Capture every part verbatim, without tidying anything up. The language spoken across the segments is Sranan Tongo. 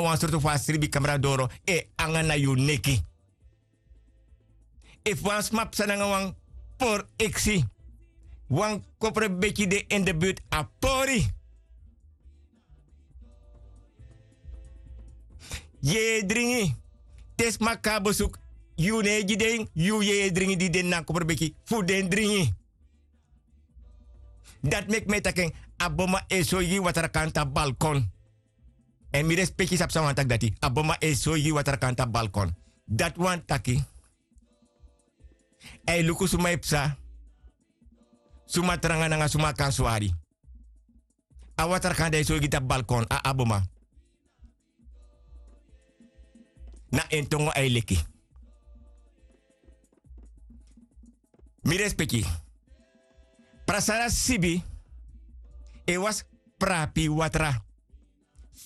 wan sortu fu a sribi kamra doro e anga na yu neki. Efu wan sma psa nanga wan pori eksi, wan koprobeki de in de buurt a pori. Yeye dringi. Te sma kon na besuku, yu no e gi den yu yeye dringi di de na koprobeki fu den dringi. Dati meki mi e taki en, a boma e soigi watrakan tapu balkon. Èn mi respeki sabi san wani taki dati, a boma e soigi watrakan tapu balkon. Dati wani taki a e luku suma e psa, suma tranga nanga suma kan swari. A watrakan di a e soigi tapu balkon a aboma. Na en tongo a e leki. Mi respeki. Prasara sibi e wasi prapi watra.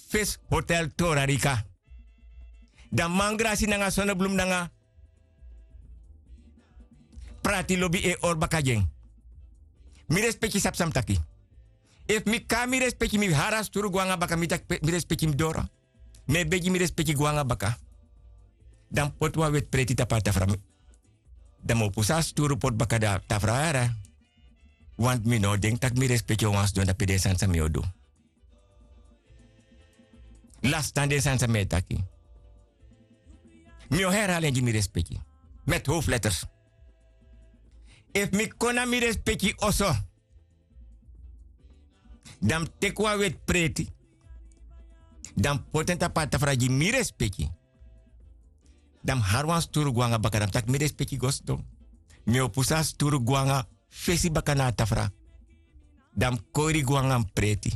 Fesi hotel torarika. Dan mangrasi nanga sonoblumu nanga prati lobi e hori baka gi en. Mi respeki sabi san mi taki. Efu mi kon na mi respeki mi hari a sturu go nanga baka mi taki mi respeki mi doro. Mi e begi mi respeki go nanga baka. Dan mi poti wan weti preti tapu a tafra. Dan mi o pusu a sturu poti baka dan a tafra wara. Wantu mi no o denki tak' mi respeki o wani sidon dape den sani san mi o du. Lasi tan den sani san mi e taki. Mi o herali en gi mi respeki. Meti howfu leters. Efu mi kon na mi respeki oso, dan mi teki wan weti preti. Dan mi poti en tapu a tafra gi mi respeki. Dan mi hari wan sturu go nanga baka dan mi taki mi respeki go sidon. Mi o pusu a sturu go nanga fesi baka na a tafra. Dan mi kori go nanga mi preti.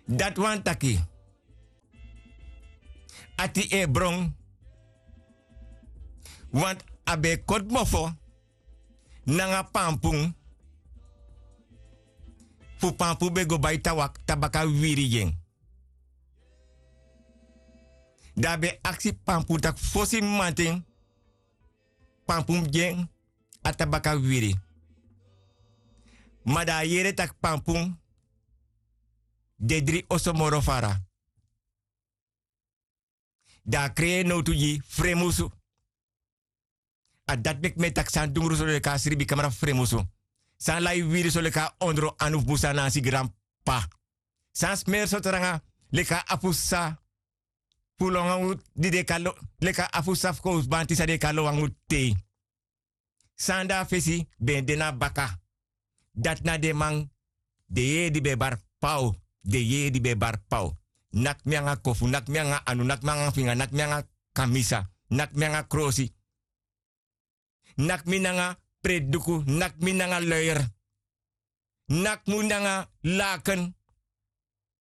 Dati wani taki ati e bron. Wantu a ben e koti mofo nanga pampun. Fu pampun ben go bai tawak tabaka wiri gi en. Dan a ben aksi pampun tak' fosi mamanten pampun gi en a tabaka wiri. Ma dan a yere tak' pampun de dri oso moro fara. Dan a krei en nowtu gi fremusu. A dati meki mi e taki san dungru so leki a sribi kamra fu fremusu. San lai wiri so leki a ondro anu fu busa na a si granpa. San smeri so tranga leki a afu sa fu longu di den kan lo leki a afu sa fu kowsu banti san den kan lo wangu tei. San de a fesi ben de na baka. Dati na den man den yeye di ben e bari paw. Den yeye di ben e bari paw. Naki mi nanga kofu naki mi nanga anu naki mi nanga finga naki mi nanga kamisa naki mi nanga krosi. Naki mi nanga preti duku naki mi nanga loyer. Naki mi nanga laken.